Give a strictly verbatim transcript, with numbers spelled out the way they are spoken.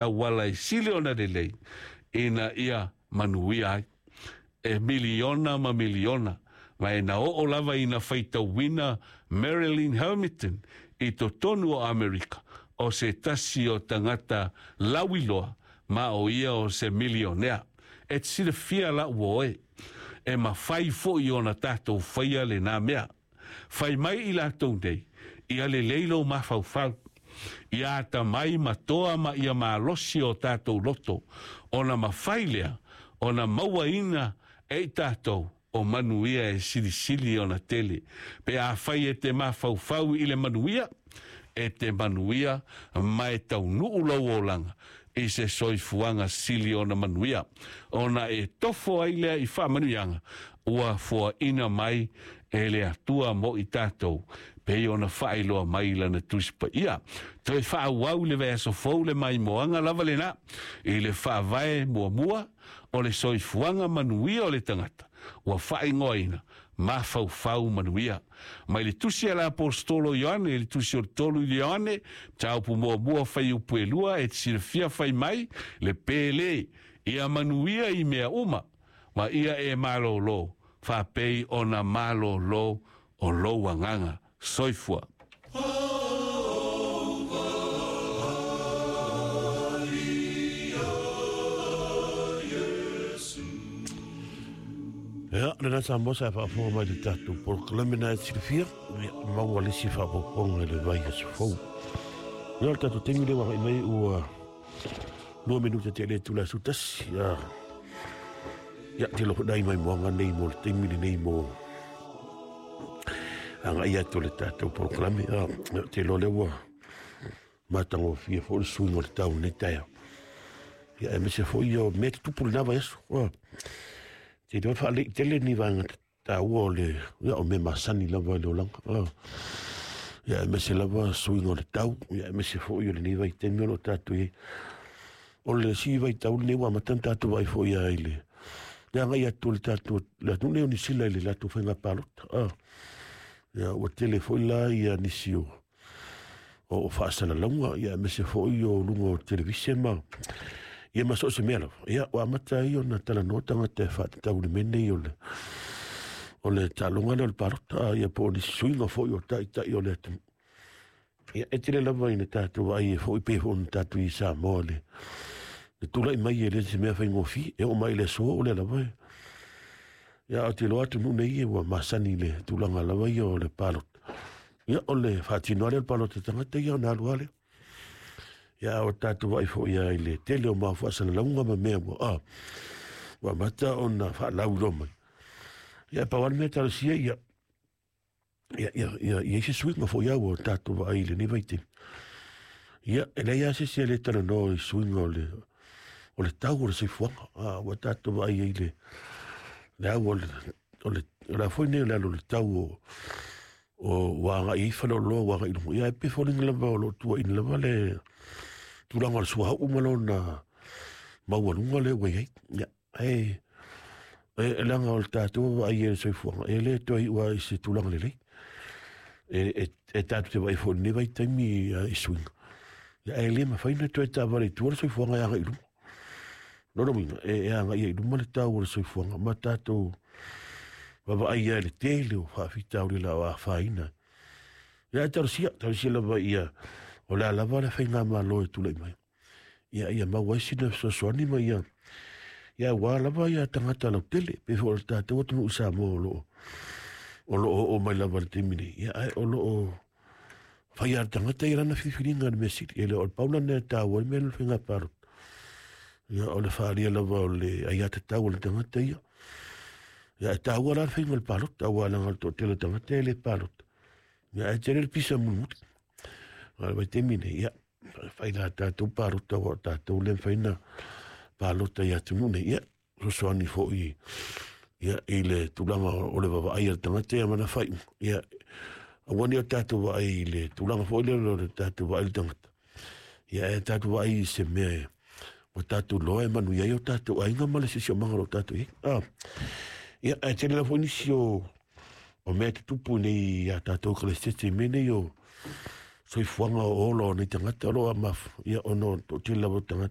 Auala e sili ona lelei ina ia manuia ai. E miliona ma miliona, ma e na oo lava ina faitauina Marilyn Hamilton i totonu o Amerika, o se tasi o tagata lauiloa ma o ia o se milionea. E te silafia la ua oe, e mafai foi ona tatou faia lena mea. Fai mai i latou nei, ia lelei lou mafaufau, ia atamai ma toa ma ia malosi o tatou loto, ona mafai lea ona mauaina e i tatou o manuia e silisili ona tele. Pe afai e te mafaufau i le manuia, e te manuia ma e taunuu lou olaga i se soifuaga sili ona manuia, ona e tofo ai lea i faamanuiaga ua foaina mai e le Atua mo i tatou, pei ona faailoa mai lana Tusi Paia. Toe faaauau le vaiaso fou le maimoaga lava lena i le faavae muamua o le soifuaga manuia o le tagata ua faaigoaina mafaufau manuia. Mai le tusi a le Aposetolo Ioane, le tusi o le tolu i Ioane, mataupu muamua fuaiupu e lua, e te silafia fai mai le pele, ia manuia i mea uma, ma ia e malōlō, faapei ona malōlō o lou agaga. Soifua. Ia, lena Samoa sa e faafofoga mai i le tatou polokalame na e silafia, ia, maua le isi faaopoopoga i le vaiaso fou. Ia, o le tatou taimi lea ua agai mai ua lua minute te le itula e sefulu tasi. Ia, ia, tele foi nai maimoaga nei mo le taimi lenei mo agai atu o le tatou polokalame. Ia, te iloa lea ua matagofie foi le suiga o le tau i lenei taeao. Ia, aemaise foi o mea tutupu i lena vaiaso. Ia, te iloa faalei tele ni vaega taua o le, ia, o mea masani lava i le olaga. Ia, aemaise lava suiga o le tau, ia, aemaise foi o lenei vaitaimi o lo o tatou i ai. O le isi vaitau lenei ua amata ona tatou vaai foi i le le agai atu o le tatou le atunuu nei o Niu Sila i le latou faiga palota. Ia, ua tele foi la ia nisi o o faasalalauga, ia, aemaise foi o luga o televise ma ia ma so o se mea lava. Ia, ua amata ai ona talanoa tagata e faatatau i le mea nei o le o le taaloga lea o le palota, ia, po o nisi suiga foi o taitai o le atunuu. Ia, e tele lava ina tatou vaai ai foi pei foi ona tatou i Samoa le le tulai mai e le se mea faigofie, e oo mai i le aso o lea lava. Ia, ou te iloa atunuu nei ua masani i le tulaga lava ia o le palota. Ia, o le faatino lava lea o le palota tagata ia ona alu lava lea. Ia, o tatou vaai foi i le tele o mau faasalalauga ma mea ua ah, ua amata ona faalauiloa mai. Ia, pau lava le mea talosia ia ia ia ia i ai se suiga foi au o tatou vaai i lenei vaitaimi. Ia, e leai lava se isi e le talanoa i suiga o le o le tau o le soifuaga. Ah, ua tatou vaai ai le le au o le o le o le a foi nei o le alu o le tau o o ua agai ai faleoloa ua agai i luga. Ia, e pei foliga lava o lo o tuuaina lava le tulaga o le suauu ma lona maualuga lea ua i ai. Ia, ae e leaga o le tatou vaai i le soifuaga, e le toe iu lava i se tulaga lelei. E, e, e tatou te vaai foi i lenei vaitaimi i suiga. Ia, ae le mafai ona toe taavale i tua le soifuaga e agai i luma. Lona uiga, e, e agai ai i luma le tau o le soifuaga ma tatou vaavaai ai i le tele o faafitauli la o afaina. Ia, ae talosia, talosia lava ia, o le a lava le faigamalo e tulai mai. Ia, ia maua ai sina fesoasoani ma ia, ia aua lava ia tagata lautele, pei foi o le tatou atunuu i Samoa o lo o, o lo o oo mai lava i le taimi nei. Ia, ae o lo o fai lava le tagata ia lana filifiliga i le mea sili. E le o le pau lana e taua ai le mea lea o le faiga palota. Ia, o le faaalia lava o le aiatatau a le tagata ia. Ia, e taua la le faiga o le palota, aua leaga o le toatele o tagata e le palota. Ia, ae tele le pisa mulimuli. A o le vaitaimi nei, ia, fai la tatou palota, aua o tatou lea e mafai ona palota i atunuu nei. Ia, fesoasoani foi ia, i le tulaga o le vaavaai a le tagata ia ma lana faaiuga. Ia, aua ne i o tatou vaai i le tulaga foi lea o le tatou vaai i le tagata. Ia, ae tatou vaai i se mea ua tatou iloa e manuia ai o tatou aiga ma le siosiomaga o lo o tatou i ai. Ah, ia, ae tele lava foi nisi o, o mea e tutupu nei ia tatou Ekalesia i mea nei o soifuaga o ola o nei tagata o lo o maf, ia, ona o toatele lava o tagata